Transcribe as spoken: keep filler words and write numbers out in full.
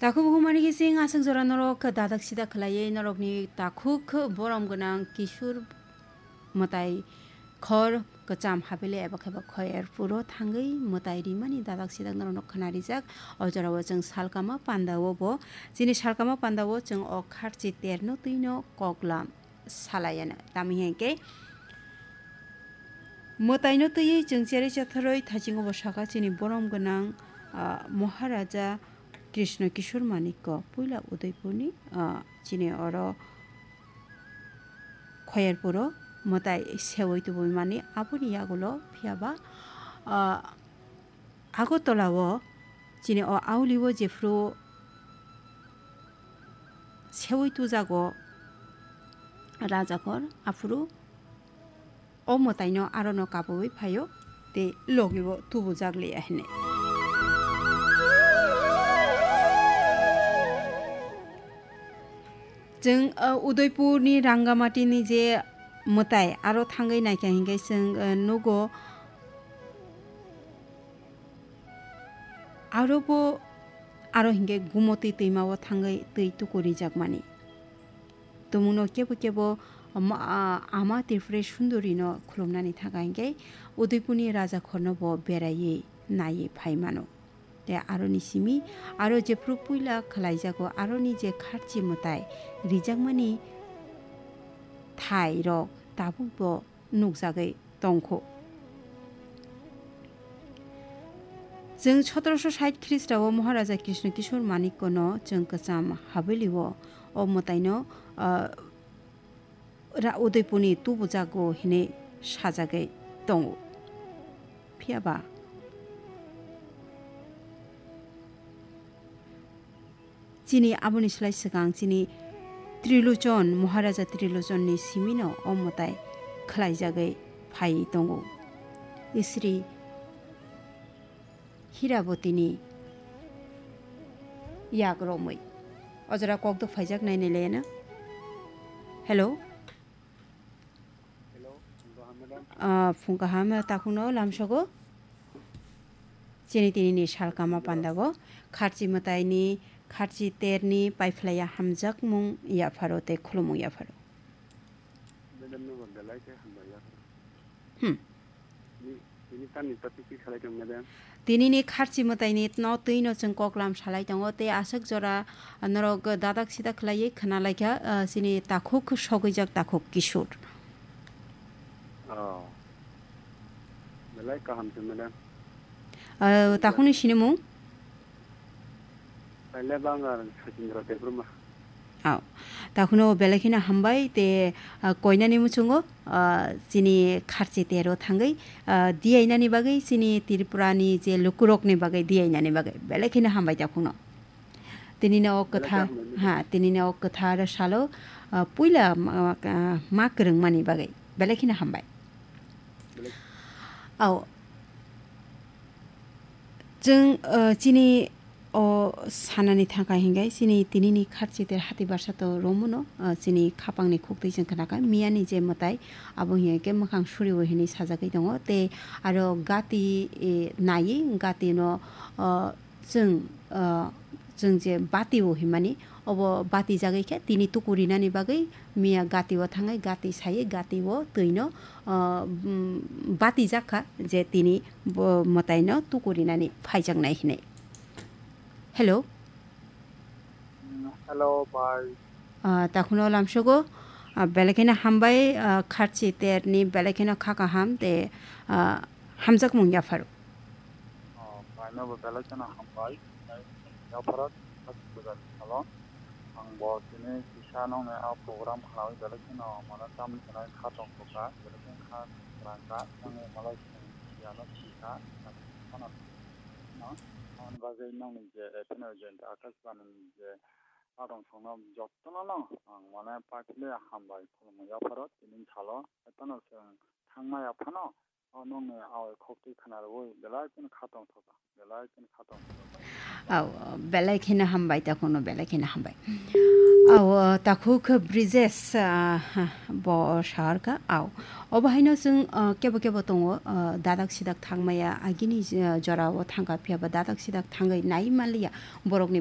Takhuk bukhuk mani khe chwng aswk jora norok dadak sidak khlaiwi norokni takhuk borom gwnang Kishur mwtai khor kwcham habili eba khe bo khoyar puro thangwi mwtai rimani dadak sidak norokno khwna rijak. O jorao chwng salkama pandao bo, chini salkama pandao chwng o kharchi terno twino koklam salayano. Tamo hinkhe mwtaino twiwi chwng cherwi chatharwi thaisingo bo sakha chini borom gwnang, ah, Maharaja Krishna Kishore Manikya puila Udaipurni, ah, chini oro Khoyerpuro mwtai sewi tubui mani aboni yagulo phiyaba, ah, Agartala o chini o auli o jephuru sewi tujago Rajakhor, aphuru o mwtaino arono kabui phaio tei logi o tubujak liya hinwi. Chwng, uh, Udaipurni Rangamati ni je mwtai aro thangwi naikha hinkhe chwng, uh, nugo Aro bo, aro hinkhe Gumoti twima o thangwi twi tuku rijakmani. Tumungno kebo kebo ma-, a-, Ama Tripura Sundorino khulumnani thangkha hinkhe Udaipurni Rajakhorno bo beraiwi naiwi phai mano. Tei aroni simi aro jephru puila khlaijago aroni je kharchi mwtai rijakmani thairok tabukbo nukjagwi tongkhu. Chwng sotorosho sait Khristao Maharaja Krishna Kishore Manikya no chwng kwcham habili o, o mwtaino, ah, ra-, Udaipurni tubujago hinwi sajagwi tongo. Phiyaba Chini aboni slai swkang chini Trilochon, Maharaja Trilochonni simino o mwtai khlaijagwi phaiwi tongo. Sri Hirabotini yak romwi. O jora kok do phaijak nai nai laiya na. Hello. Hello, phung kaham, madam. Ah, phung kaham, takhukno lamsogo. Chini tinini salkama pandago. Kharchi mwtaini, kharchi terni, paiphlaiya hamjakmung yapharo tei khulumung yapharo. Madam, no belai khe hambai yapharo. Hmm. Ni, tini tamni topic khe salai tong, madam. Tinini kharchi mwtaini no twi no chwng koklam salai tongo, tei aswk jora norok dadak sidak khlaiwi khna laikha, ah, chini takhuk sogwijak takhuk Kishore. Oh. Belai kaham se, madam. Ah, takhukni sinimung? Taile bang ar Sachindra Debbarma. Aw, takhukno belai kheno hambai te, ah, koinani muchungo, ah, chini kharchi tero thangwi, ah, diyainani bagwi chini Tripurani je lukurokni bagwi diyainani bagwi belai kheno hambai takhukno. Tinini o kwtha, belai kheno hambai. Ha, tinini o kwthar salo, ah, puila ma, ma, ma kwrwngmani bagwi belai kheno hambai. Belai. Aw, Chwng, uh, chini o sanani thangkha hinkhe chini tinini kharchi ter hati barsa to romano, uh, chini khapangni khuktwi chwng khnakha. Miyani je mwtai abo hinkhe mwkhang suriwi hinwi sajagwi tongo. Tei aro gati, eh, naiwi gati no, uh, chwng, uh, chwng je bati o hinmani obo bati jagwi khe tini tuku rinani bagwi miya gati o thangwi gati sawi gati o twi no, ah, mm, bati jak kha je tini bo mwtai no tuku rinani phaijaknai hinwi. Hello. Mm, hello, bye. Ah, takhukno lamsogo, ah, belai kheno hambai, ah, kharchi terni belai kheno kha kaham tei, ah, hamjakmung yapharo. Oh, bye no bo belai kheno hambai. Yapharo, salo. Ang bo tini kisa nokni a program khwnaui belai kheno mane tamni hwnwi kha tongthokha, belai kheno kha kwrwngkha, nangni malai chwng siyano sikha, phano no, aboni bagwi nokni je F N O agent Akashbani ni je adong songno jotono no ang mane pakhile hambai khulumui yapharo tini salo, phano chwng thangmaya phano, o nokni a khokti khwnarwi belai kheno kha tongthokha, belai kheno kha tongthokha. Aw, belai kheno hambai, takhukno belai kheno hambai. Aw, takhuk Brijesh, ah, bo saharkha, aw. Obo haino chwng, ah, kebo kebo tongo, ah, dadak sidak thangmaya, agini, ah, jorao thangkha, phiyaba dadak sidak thangwi nai manliya borokni